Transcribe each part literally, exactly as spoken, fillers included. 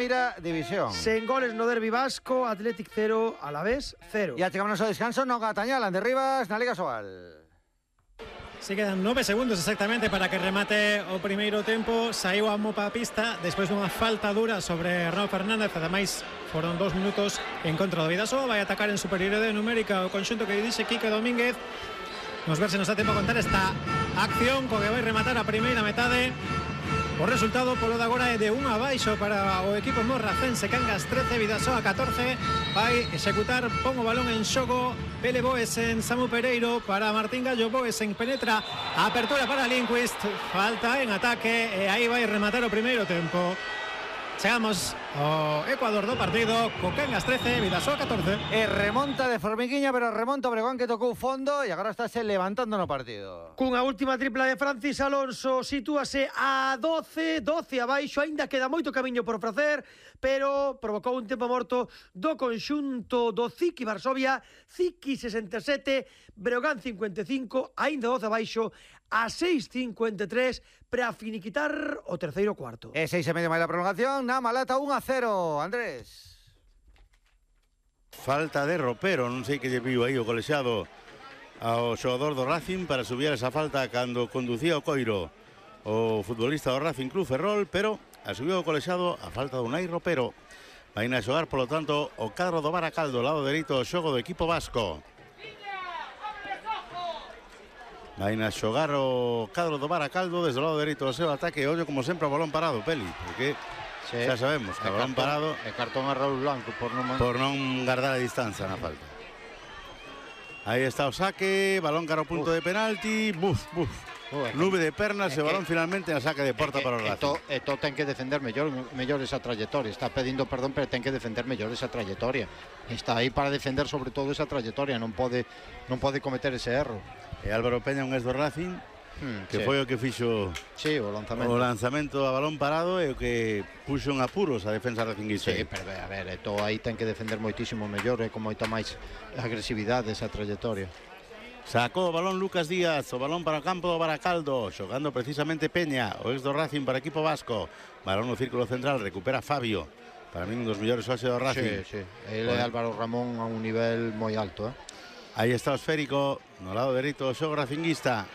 Primeira división. Sen goles no derbi vasco, Athletic cero, Alavés cero. E achegámonos ao descanso no Gatañal, ande Rivas, na Liga Sobal. Se quedan nove segundos exactamente para que remate o primeiro tempo. Saiu a mopa a pista despois dunha falta dura sobre Arnau Fernández. Ademais, foron dos minutos en contra do Vidasoa. Vai atacar en superioridade numérica o conxunto que dixe Quique Domínguez. Vamos ver se nos dá tempo a contar esta acción co que vai rematar a primeira metade. O resultado polo de agora é de un abaixo para o equipo morracense. Cangas trece, Vidasoa catorce. Vai executar, pon o balón en xogo Pele Boesen, Samu Pereiro para Martín Gallo. Boesen penetra, apertura para Lindquist, falta en ataque e aí vai rematar o primeiro tempo. Chegamos ao Ecuador do partido co Cangas trece, Vidasoa catorce. E remonta de formiguiña, pero remonta o Breogán que tocou fondo e agora estáse levantando no partido. Cunha última tripla de Francis Alonso, sitúase a doce, doce abaixo, aínda queda moito camiño por facer, pero provocou un tempo morto do conxunto do Ziki Varsovia. Ziki sesenta e sete, Breogán cincuenta e cinco, aínda doce abaixo, a seis cincuenta e tres para finiquitar o terceiro cuarto. E seis e medio máis a prolongación, na Malata un a cero, Andrés. Falta de Ropero, non sei que lle viu aí o colexiado ao xogador do Racing para subir esa falta cando conducía o Coiro o futbolista do Racing Club Ferrol, pero a subiu o colexiado a falta do Unai Ropero. Vai a xogar, polo tanto, o cadro do Baracaldo, lado dereito do xogo do equipo vasco. Vai a xogar o cadro do Baracaldo desde o lado dereito do seu ataque. Ollo como sempre o balón parado, Peli, porque sí, xa sabemos que o balón parado e cartón a Raúl Blanco por non, por non guardar a distancia na falta. Aí está o saque, balón cara ao punto Uf. de penalti, buf, buf. Uh, nube de pernas e balón finalmente a saque de porta que, para o Racing. E to, to ten que defender mellor, mellor esa trayectoria. Está pedindo perdón, pero ten que defender mellor esa trayectoria. Está aí para defender sobre todo esa trayectoria, non pode non pode cometer ese erro. E Álvaro Peña, un ex do Racing, hmm, que sí. foi o que fixo sí, o lanzamento. o lanzamento a balón parado e o que puxo en apuros a defensa racinguista. Sí, pero a ver, to aí ten que defender moitísimo mellor e con moita máis agresividade esa trayectoria. Sacou o balón Lucas Díaz, o balón para o campo do Baracaldo, xogando precisamente Peña, o ex do Racing para equipo vasco. Balón no círculo central, recupera Fabio. Para mí un dos mellores hoxe do Racing. Sí, sí, ele é Álvaro Ramón a un nivel moi alto, eh. Aí está o esférico, no lado dereito do xogo racinguista.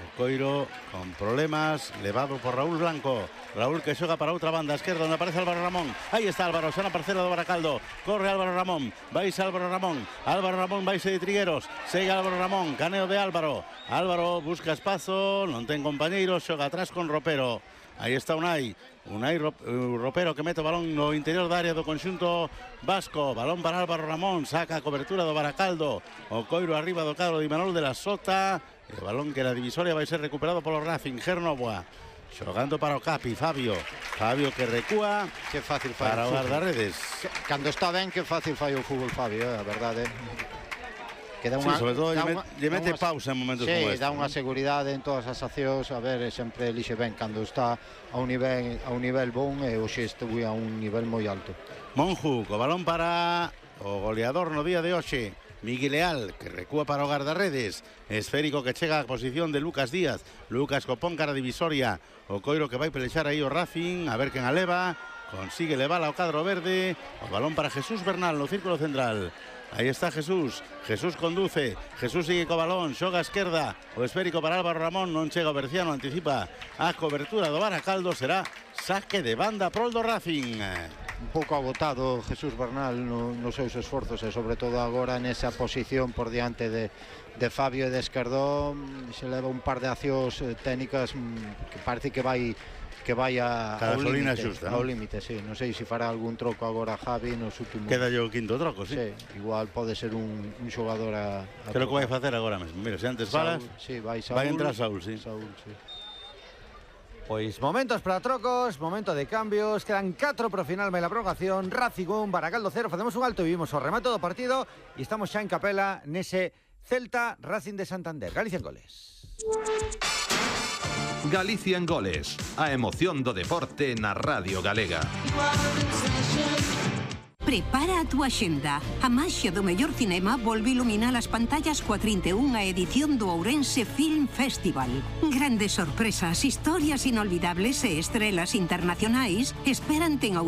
O Coiro con problemas, levado por Raúl Blanco. Raúl que xoga para outra banda esquerda onde aparece Álvaro Ramón. Aí está Álvaro, xa na parcela do Baracaldo. Corre Álvaro Ramón, vaise Álvaro Ramón. Álvaro Ramón vaise de Trigueros. Segue Álvaro Ramón, caneo de Álvaro. Álvaro busca espazo, non ten compañeiros, xoga atrás con Ropero. Aí está Unai, Unai Ropero que mete o balón no interior da área do conxunto vasco. Balón para Álvaro Ramón, saca a cobertura do Baracaldo. O Coiro arriba do cadro de Imanol de la Sota. E o balón que na divisoria vai ser recuperado polo Racing. Gernoboa xogando para o Capi, Fabio. Fabio que recúa, que fácil fai para o guardarredes. Cando está ben, que fácil fai o fútbol, Fabio, eh, a verdade. Que dá unha, sí, sobre todo lle, unha, lle mete unha, pausa en momentos sí, como este. Dá unha seguridade en todas as accións. A ver, sempre elixe ben cando está a un nivel, a un nivel bon e hoxe estuve a un nivel moi alto. Monju, co balón para o goleador no día de hoxe, Miguel Leal, que recúa para o guardarredes. Esférico que chega a posición de Lucas Díaz. Lucas copón cara divisoria. O Coiro que vai pelexar aí o Racing, a ver quen a leva. Consigue levar ao cadro verde. O balón para Jesús Bernal no círculo central. Aí está Jesús, Jesús conduce, Jesús sigue co balón, xoga a esquerda, o esférico para Álvaro Ramón, non chega o Berciano, anticipa a cobertura do Baracaldo, será saque de banda prol do Racing. Un pouco agotado Jesús Bernal no, nos seus esforzos e sobre todo agora nesa posición por diante de, de Fabio e de Esquerdón. Se leva un par de accións técnicas que parece que vai que vai a, ao límite, xusta, ao límite, sí. Non sei se fará algún troco agora Javi nos últimos... Queda yo o quinto troco, sí. Sí, igual pode ser un, un xogador a... a Creo que vai facer agora mesmo. Mira, se antes falas, sí, vai, Saúl, vai entrar Saúl, sí. Saúl, sí. Pois momentos para trocos, momento de cambios, quedan catro pro final de la prolongación. Racing un, Baracaldo cero, facemos un alto e vimos o remate do partido e estamos xa en capela nese Celta Racing de Santander. Galicia en goles. Galicia en goles, a emoción do deporte na Radio Galega. Prepara a túa xenda. A maxia do mellor cinema volve iluminar as pantallas coa trinta e unha edición do Ourense Film Festival. Grandes sorpresas, historias inolvidables e estrelas internacionais esperante en